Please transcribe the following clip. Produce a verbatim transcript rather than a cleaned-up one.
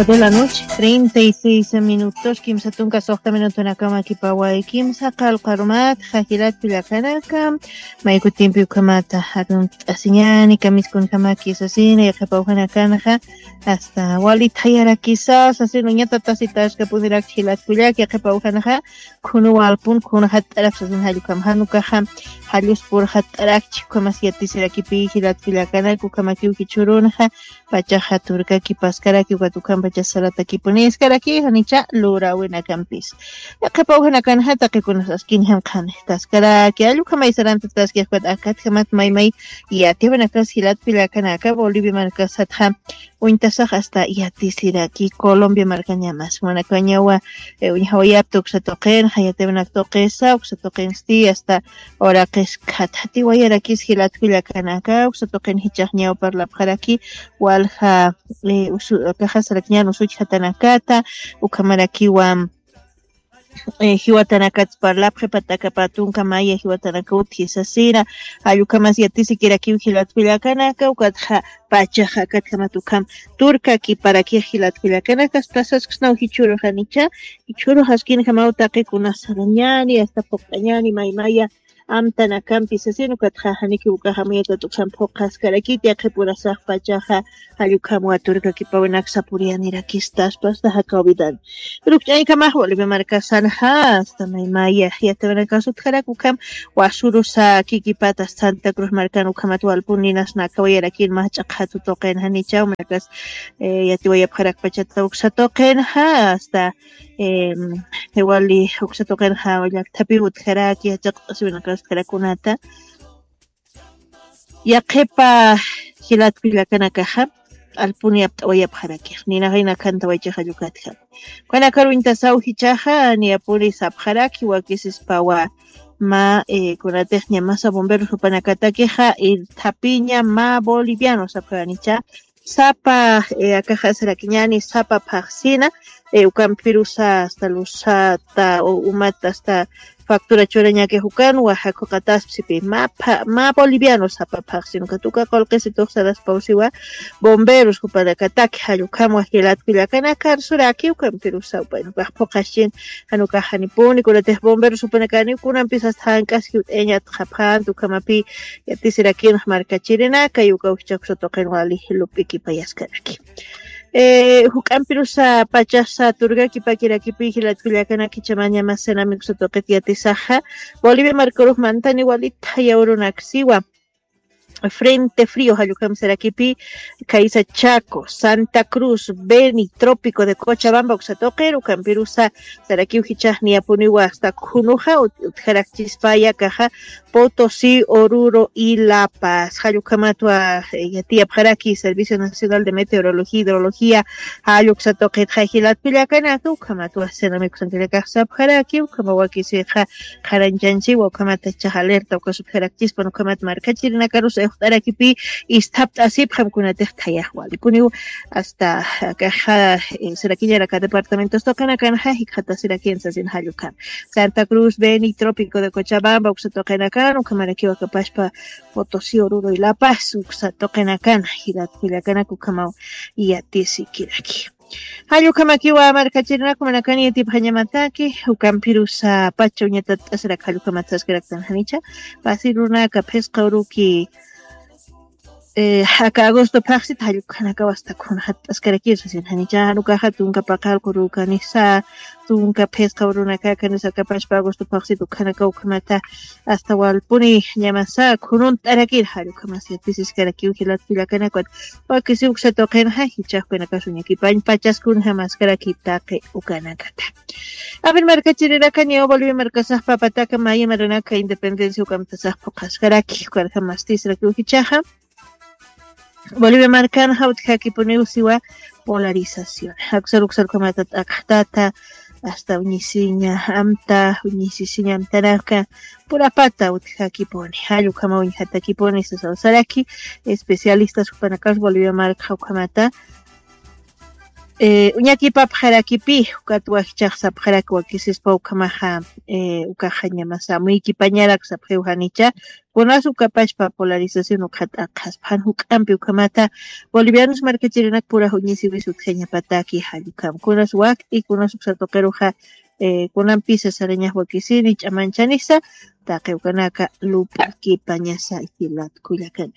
De la noche, treinta y seis minutos, kimsa tunka soxta minutunakama kipaway, kimsa qalqarumat, jajilat pillakanaka, mayku tiempo ukhamata, arunt'asiñani, kamiskunjama kisasina, yaqipawjanakanxa, hasta wali thayarakisa, sasina, uñata tasitashka punirak jilat pillak, yaqipawjanaxa, khunu walpun, khunu jat'arak, sasina, jallukam, janukaxa, jalluspur jat'arak, chikukamas yatisirakipi, jilat pillakanak, ukhamakiw jichhurunxa, pachaxa turkaki paskaraki ukat ukham pacha salatakipuni iskaraki janicha lurawinakampis. Qhipaw janakanxa taqikunas askin janqhani taskaraki allukhamay sarantataski ukat akatjamat maymay yatiwinakas jilat pillakanaka Bolivia markasatxa uñtasax hasta yatisiraki Colombia markañamas manakañawa uñjawayapta uksa tuqinxa yatiwinak tuqisa uksa tuqinsti hasta uraqis khatatiwayarakis jilat pillakanaka uksa tuqin jichax ñaw parlapxaraki walja kaxasarakiñan usuchjatanakata ukhamarakiwa jiwatanakats parlapxi patakapatunka maya jiwatanaka utji sasira jallukhamas yatisikirakiw jilat pillakanaka ukatxa pachaxa akatjamat ukham turka kiparakix jilat pillakanaka tasaskasnaw jichhuru janicha jichhuru jaskinjamaw taqi kunas sarañani asta phuqt'añani maymaya amtanakampis sasina ukatxa janiki ukaxa mayatat uksan phuqaskarakiti yaqhipurasax pachaxa jallukhamwa turkakipawinaksa puriyanirakista asta asta jakawidani rukch'aykamax Bolivia markasanxa asta maymaya yatiwinakas utjarak ukham wasurusa kikipata Santa Cruz markan ukhamat walpun ninasna akawayarakir mach'a qhatu tuqinxa nichaw markas yatiwayapxarak pachata uksa tuqinxa asta wali uksa tuqinxa llakthapiw utjaraki yachaqt'asiwinakas utjarakunata yaqhipa jilat pillakanakaxa alpuni apt'awayapxarakix ninaxay nakhantawaychaxa llukatjam ukanakar uñtasaw jichaxa niyapuni sapxaraki wakisispawa ma kunatix ñamasa bomberos jupanakatakixa irthapiña ma boliviano sapxaranicha sapa akaxasarakiñani sapa phaxsina ukampirusa asta lusata umata asta factura churañakix ukan waja khuqataspisipi ma boliviano sapa phaxsina ukat uka qullqisitux saraspawsiwa bomberos jupanakataki jallukhamwa jilat pillakanaka arsuraki ukampirusa upayn ukax phuqaschin jan ukax janipuni kunatix bomberos jupanakani kunampis asta jank'as jiwt'ayañat qhapxanta ukhamapi yatisirakinx markachirinaka y uka ujchha uksa tuqin wali lup'ikipayaskaraki juk'ampirusa pachasa turkakipakirakipi jilat pillakanaki chamaña mas cenamicsa tuqit yatisaxa Bolivia markarux mantani wali thayawrunaksiwa Frente Frío jallukhamsarakipi khaysa Chaco, Santa Cruz, Beni, Trópico de Cochabamba uksa tuqir ukhampirusa sarakiw jichax niyapuniwa asta khunuxa utjarakchispaya kaxa Potosí, Oruro y La Paz. Jallukhamatwa yatiyapxaraki Servicio Nacional de Meteorología y Hidrología jalluksa tuqitxa jilat pillakanaka ukhamatwa cenamicsa tuqitxa sapxaraki ukhama wakisixa qharañchanchiwa ukhamata chax alerta uka sutjarakchispan ukhamat markachirinakarus uxt'arakipi isthapt'asipxam kunatix thayax walikuniw asta akaxa sirakiñaraka departamentos tuqinakanxa jikxatasirakin sasin jallukam Santa Cruz, Beni, Trópico de Cochabamba uksa tuqinakan ukhamarakiw akapaspa Potosí, Oruro y La Paz uksa tuqinakan jilat pillakanaka ukhamaw yatisikiraki. Jallukamakiwa markachirinakumanakani yatipxañamataki ukampirusa pacha uñatat'asirak jallukamat saskaraktan janicha pasirunaka phisqa uruki aka agosto phaxsit jallukhanakaw asta khun jat'askarakir sasin janicha janukaxa tunka paqallqu rukanisa tunka phisqa urunaka kanisa akapashpa agosto phaxsit ukhanakaw ukhamata asta walpuni ñamasa khununt'arakir jallukhamas yatisiskarakiw jilat pillakanakwan wakisiw uksa tuqinxa jichhaxkunakas uñakipañ pachaskunxa maskaraki taqi ukanakata. Aven markachirinaka ñaw Bolivia markasax papataka maya maranaka independencia ukamtasax phuqaskaraki ukarja mastisrakiw jichhaxa Bolivia markanxa utjakipuniw siwa polarización jaksar uksar ukhamata t'aqxtata asta uñisiña amta uñisisiña amtanaka purapata utjakipuni jallukama uñjatakipuni sasawsaraki especialistas jupanakas Bolivia markxa ukhamata Uñakipapxarakipi ukat wakichax sapxarak wakisispa ukhamaxa ukaxañamasa amuykipañarak sapxiw janicha. Kunas ukapachpa polarización ukxat aqhaspa jan juk'ampi ukhamata bolivianos markachirinak purax uñisiwis utjañapataki jallukam kunas wakt'i kunas uksatuqiruxa. Kunampisa sarañax wakisini ch'amanchanisa taqiwkanaka lup'kipañasa jilat kullakana.